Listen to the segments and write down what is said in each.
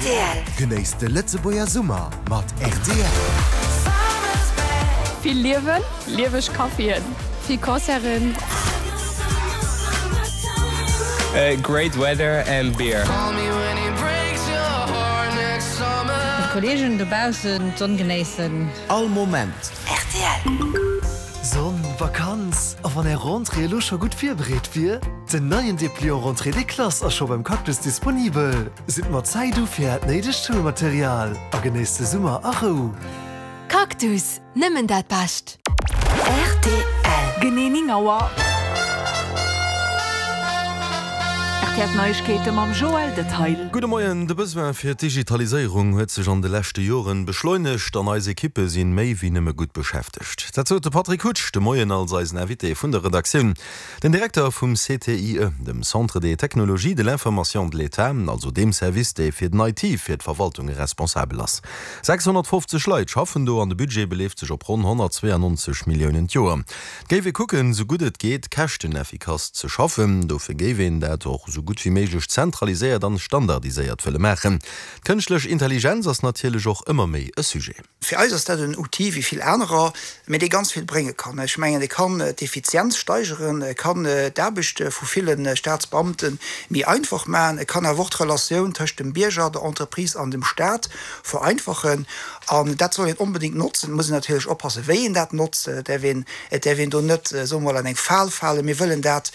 Rtl. Genéisst de Lëtzebuerger Summer mat rtl. Vill Liewen, lieweg Caféen, vill Concerten. Great weather and beer. Mat Kollegen dobaussen d'Sonn genéissen. All Moment. Rtl. Sonn, Vakanz, a wann är Rentrée elo scho gutt virbereet wier? Den neien Depliant Rentrée des Classes ass scho beim Cactus disponibel. Sidd mat Zäit u fir äert néidegt Schoulmaterial a genéisst de Summer a Rou. Cactus, nëmmen dat Bescht! Rtl. Genee 9 Auer. Rtl D'Neiegkeete mam Joël Detail. Gudde Moien, De Besoin fir d'Digitaliséierung huet sech an de leschte Joren beschleunegt an eis Ekippe sinn méi wéi nëmme gutt beschäftegt. Dat sot de Patrick Hutsch de Moien als eisen Invité vun der Redaktioun. Den Direkter vum CTIE, dem Centre des technologies de l'information de l'État, also deem Service, dee fir den IT fir d'Verwaltunge responsabel ass. 650 Leit schaffen do an de Budget beleeft sech op ronn 192 Milliounen d'Joer. Et géif ee kucken, sou gutt et geet, käschteneffikass ze schaffen. Dofir géif een dat och sou gutt wéi méiglech zentraliséiert an standardiséiert wëlle maachen. D'kënschtlech Intelligenz ass natierlech och ëmmer méi e Sujet. Fir eis ass dat en Outil wéi vill anerer, mä dee ganz vill brénge kann. Ech mengen, e kann d'Effizienz steigeren, e kann d'Aarbecht vu ville Staatsbeamte méi einfach maachen, e kann awer och d'Relatioun tëscht dem Bierger, der Entreprise an dem Staat vereinfachen. An dat soll een onbedéngt notzen. Et muss een natierlech oppassen, wéi een dat notzt. Et däerf een, et däerf een do net, soe mer mol, an eng Fal falen. Mir wëllen dat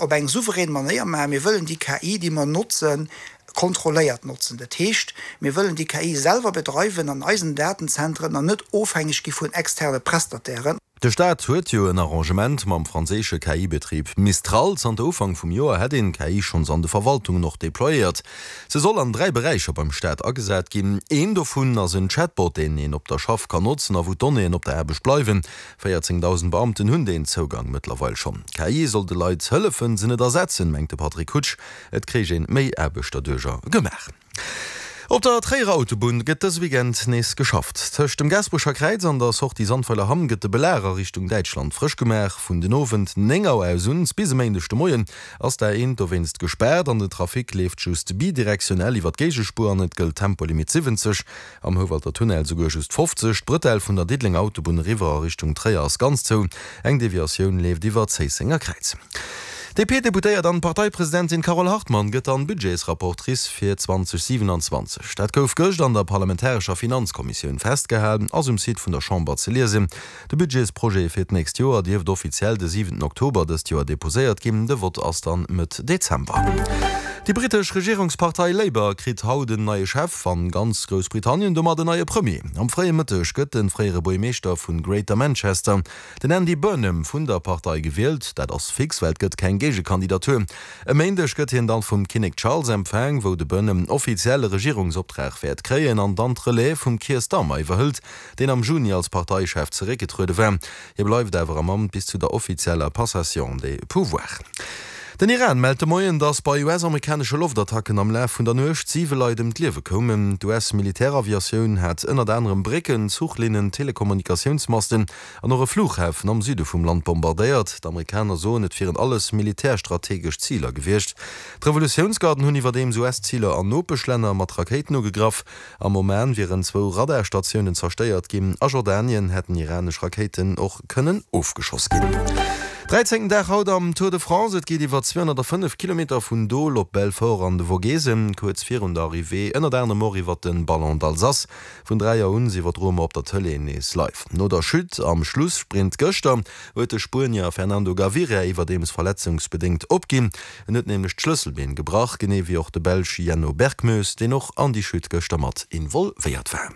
op eng souverän Manéier maachen. Mir wëllen déi KI, déi mer notzen, kontrolléiert notzen. Dat heescht, mir wëllen déi KI selwer bedreiwen an eisen Datenzentren an net ofhängeg gi vun externe Prestatairen. De Staat huet jo en Arrangement mam franséische KI-Betrib Mistral. Zanter Ufank vum Joer hätt een d'KI schonns an de Verwaltungen och deployéiert. Se soll an 3 Beräicher beim Staat agesat ginn. Een dovun ass en Chatbot, deen een op der Schaff kann notzen a wou d'Donnéeën op der Aarbecht bleiwen. 14.000 Beamten hunn deen Zougang mëttlerweil schonn. D'KI soll de Leit hëllefen, se net ersetzen, mengt de Patrick Hutsch. Et kréich een méi Aarbecht derduercher gemaach. Op der Tréierer Autobunn gëtt dëse Weekend nees geschafft. Tëscht dem Gaasperecher Kräiz an der Sortie Sandweiler Hamm gëtt de Belag a Richtung Däitschland frësch gemaach. Vun den Owend 9 Auer aus un bis e Méindeg de Moien ass d'A1 dowéinst gespaart an den Trafic leeft just bidirektionell iwwer d'Géigespuer an et gëllt Tempolimit 70. Am Houwalter Tunnel souguer just 50. D'Brëtell vun der Diddelenger Autobunn eriwwer a Richtung Tréier ass ganz zou. Eng Deviatioun leeft iwwer d'Zéissenger Kräiz. D'DP-Deputéiert an Parteipresidentin Carole Hartmann gëtt dann Budgetsrapportrice fir 2027. Dat gouf gëscht an der parlamentarescher Finanzkommissioun festgehal, ass um Site vun der Chamber ze liesen. De Budgetsprojet fir d'nächst Joer dierft offiziell de siwenten Oktober dëst Joer deposéiert ginn. De Vott ass dann Mëtt Dezember. Déi brittesch Regierungspartei Labour kritt haut en neie Chef an ganz Groussbritannien domat en neie Premier. Am fréie Mëtteg gëtt de fréiere Buergmeeschter vun Greater Manchester, den Andy Burnham, vun der Partei gewielt. Dat ass fix, well et gëtt keng Géigekandidatur. E Méindeg gëtt hien dann vum Kinnek Charles empfaang, wou de Burnham offiziell e Regierungsoptrag wäert kréien an dann d'Relève vum Keir Starmer iwwerhëlt. deen am Juni als Parteichef zeréckgetruede war. Hie bleift awer am Amt bis zu der offizieller Passation des pouvoirs. Den Iran mellt de Moien, datt bei US-amerikanesche Loftattacken am Laf vun der Nuecht siwe Leit ëm d'Liewe koumen. D'US-Militäraviatioun hat ënnert anerem Brécken, Zuchlinnen, Telekommunikatiounsmasten an och e Flughafen am Süde vum Land bombardéiert. D'Amerikaner soen, et wieren alles militärstrategesch Ziler gewiescht. D'Revolutiounsgarden hunn iwwerdeems US-Ziler an Nopeschlänner mat Rakéiten ugegraff. Am Oman wieren zwou Radarstatiounen zerstéiert ginn. A Jordanien hätten iranesch Rakéiten och kënnen ofgeschoss ginn. Dräizéngten Dag haut am Tour de France. Et geet iwwer 205 Kilometer vun Dole op Belfort an de Vogesen. Kuerz virun der Arrivée ënnert anerem och iwwer de Ballon d'Alsace. Vun 3 Auer un iwwerdroe mer op der Tëlee nees live. No der Chute am Schlussprint gëschter huet de Spuenier Fernando Gaviria iwwerdeems verletzungsbedéngt opginn. En huet nämlech d'Schlësselbeen gebrach, genee wéi och de Belsch Jenno Berckmoes, deen och an déi Chute gëschter mat involvéiert war.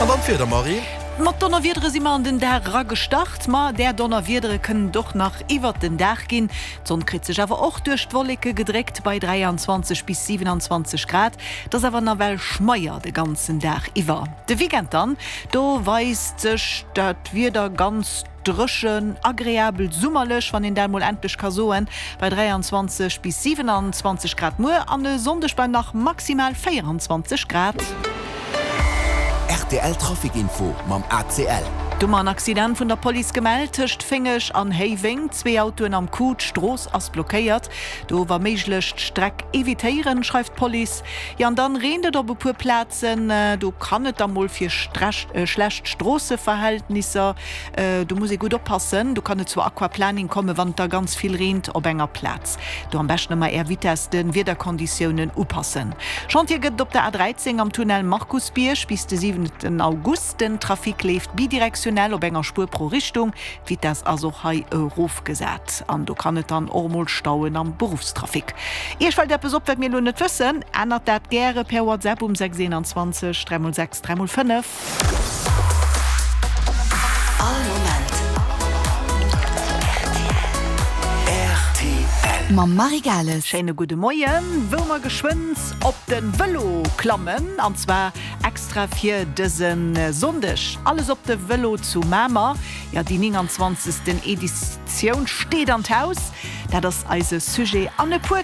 An dann d'Wieder, Marie. Mat Donnerwiedere si mer an den Dag era gestart, ma där Donnerwiedere kënnen et och nach iwwert den Dag ginn. D'Sonn kritt sech awer och duerch d'Wolleke gedréckt bei 23 bis 27 Grad. Et ass awer nawell schmeier de ganzen Dag iwwer. De Weekend dann, do weist sech dat Wieder ganz Dréchen, agreabel summerlech, wann een dat mol endlech ka soen, bei 23 bis 27 Grad muer an e Sonndeg bei nach maximal 24 Grad. Rtl Trafic Info mam ACL. Do mer en Accident vun der Police gemellt tëscht Féngeg an Héiweng. Zwee Autoen am Coup, d'Strooss ass blockéiert. Do wa méiglech d'Streck evitéieren, schreift d'Police. Jo an dann reent et op e puer Plazen. Do kann et da mol fir schlecht Stroosseverhältnisser, do muss ee gutt oppassen. Do kann et zu Aquaplaning kommen, wann et da ganz vill reent op enger Plaz. Do am beschten ëmmer är Vitess de Wiederkonditiounen upassen. Chantier gëtt et op der A13 am Tunnel Markusbierg bis de 7 August. Den Trafic leeft bidirektionell op enger Spuer pro Richtung. D'Vitess ass och hei erofgesat an do kann et dann och emol stauen am Beruffstrafic. Iech fält eppes op, wat mir elo net wëssen? Ännert dat gäre per WhatsApp um 6 21 3 x 6 3 x 5. All Moment rtl. Mam Marie Gales. Schéine gudde Moien, wou mer geschwënn op de Vëlo klammen an zwar extra fir dëse Sonndeg. Alles op de Vëlo zu Mamer. Jo, déi 29. Editioun steet an d'Haus. Dat ass eise Sujet an e puer.